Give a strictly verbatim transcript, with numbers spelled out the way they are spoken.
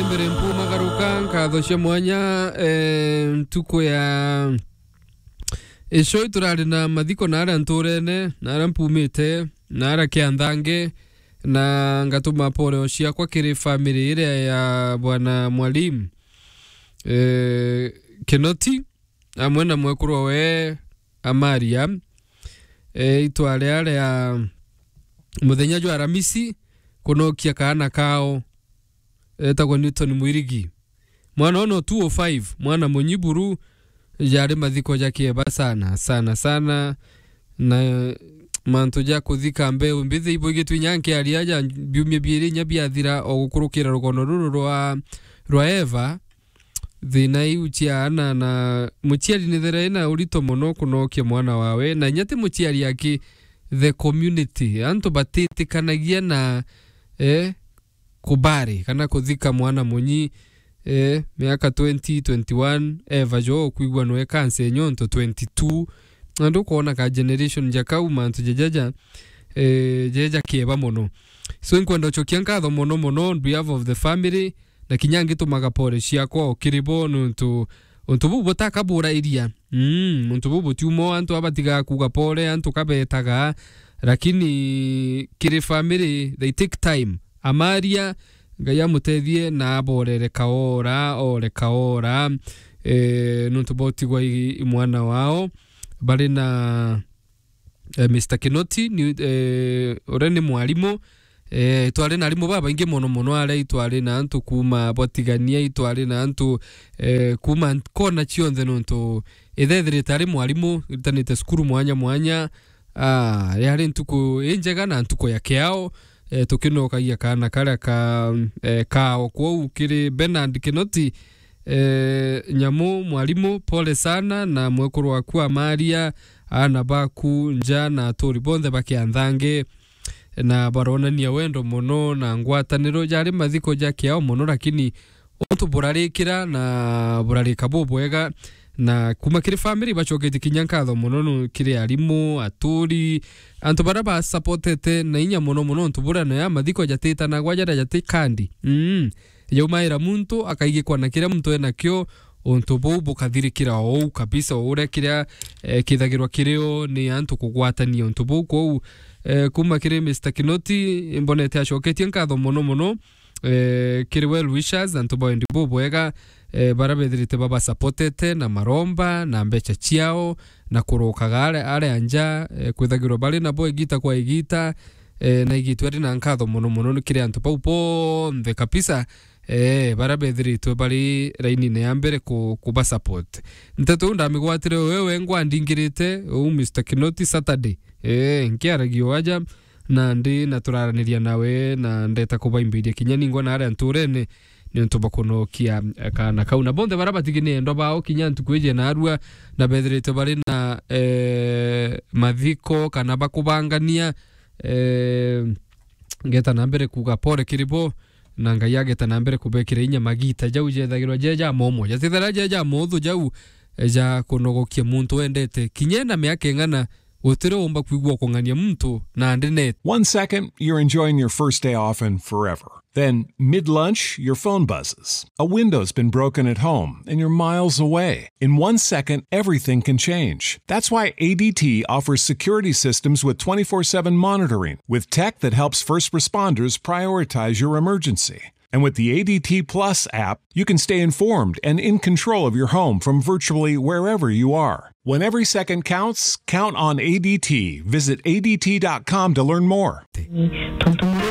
Mbere mpumagaruka, nkatho cia mwanya, eh, ntuku ya icio iturari na mathiko na aria nturene, na aria mpumite, na aria kianthange, na ngatuma pole ciakwa kiri family iria ya bwana Mwalimu, eh, Kinoti, amwe na mwekuru we Amaria, eh, itware aria muthenya jwa Aramisi, kunokia kaana kao, etagwa Newton Mwirigi. Mwana ono two oh five, mwana munyiburu, jari mathiko ja kieba sana, sana, sana. Na mantu ja kuthika mbeu mbithi ibo igitwi nyanke aria ja biumia biiri inya biathira o gukurukira rugono ruru rwa, rwa Eva. Thina iu cia ana na muciari ni thera ina urito mono kunokia mwana wawe, na inya ti muciari aki, the community, antu batitikanagia na, eh, kubari kana kuthika mwana munyi, eh, miaka twenty, twenty-one, eva jo kwigua nwe kanse nyonto twenty-two. Na ndukwona ka generation ja kau mantu jajaja, eh, jeja kieba mono. So, inkwenda ucokia nkatho mono mono on behalf of the family, na kinya ngitumaga pole ciakwa o kiri bo, nontu untu buu butakaburairiria. Mm, untu buu butiuma o antu abatigaa kuuga pole, antu kabetaga, lakini kiri family, they take time. Amaria, Ngai amutethie na aborere kaora, ore kaora, eh, nontu botigwa i, i mwana wao. Bari na eh, Mister Kinoti, ni, eh, uria ni mwarimu. Eh, itwari na arimu babaingi mono mono aria itwari na antu kuuma bwatigania, itwari na antu, eh, kuuma kona cionthe, nontu ithethirite ari mwarimu, iritanite cukuru mwanya mwanya. Ah, yari ntuku injega na ntuku ya kiao, eh, tukinokagia kaana karia ka, eh, kao. Kwou kiri Bernard Kinoti, eh, Nyamu, mwarimu, pole sana, na mwekuru waku Amaria, aana baku, nja na aturi bonthe ba Kianthange, na baronania wendo mono na ngwataniro. Jari mathiko ja kiao mono, lakini untu burarikira na burarika bubwega, na kuma kiri family bacoketie kinya nkatho mono nu-, kiri arimu, aturi, antu baria ba supportete na inya mono mono, untu buria nayo mathiko jatitanagwa jaria jati kandi. Mm. Jaumaira muntu akaigikwa na kiria muntu enakio, untu buu bukathirikira o uu kabisa, o uria kiria, eh, kithagirwa kirio ni antu kugwatania untu buu. Kwou, eh, kuma kiri Mister Kinoti, imbonete acoketie nkatho mono mono, eh, kiri well wishers, antu ba wendi bubwega, eh, baria bethirite babasupportete na maromba na mbeca ciao, na kurokaga aria, aria nja, eh, kwithagirwa bari nabo igita kwa igita, eh, na igitwe ari na nkatho mono mono ni kiri antu bau bonthe kabisa, eh, baria bethiritwe bari rainine ya mbere ku-, kubasupport. Nteto iu ndamigwatire wewe ngwa ndingirite uu Mister Kinoti Saturday, eh, nkiaragia o aja, na ndi na turaraniria nawe, na ndeta kubaimbiria kinya ningwa na aria nturene, niuntu bwa kunokia, eh, kaana kau. Na bonthe baria batigi ni endwa bao kinya ntuku iji naarua, na bethirite bari na, eh, mathiko kana bakubangania, eh, ngeta na mbere kuuga pole kiri bo, na Ngai ageta na mbere kubekira inya magita jau jethagirwa je ja momo. Jatithira je ja mothu jau, eh, ja kunogokia muntu wendete. Kinya ena miaka ing'ana, gutiri umba kwigua ukung'ania muntu na ndinete. One second, you're enjoying your first day off and forever. Then, mid-lunch, your phone buzzes. A window's been broken at home, and you're miles away. In one second, everything can change. That's why A D T offers security systems with twenty-four seven monitoring, with tech that helps first responders prioritize your emergency. And with the A D T Plus app, you can stay informed and in control of your home from virtually wherever you are. When every second counts, count on A D T. Visit A D T dot com to learn more. Tontu murimi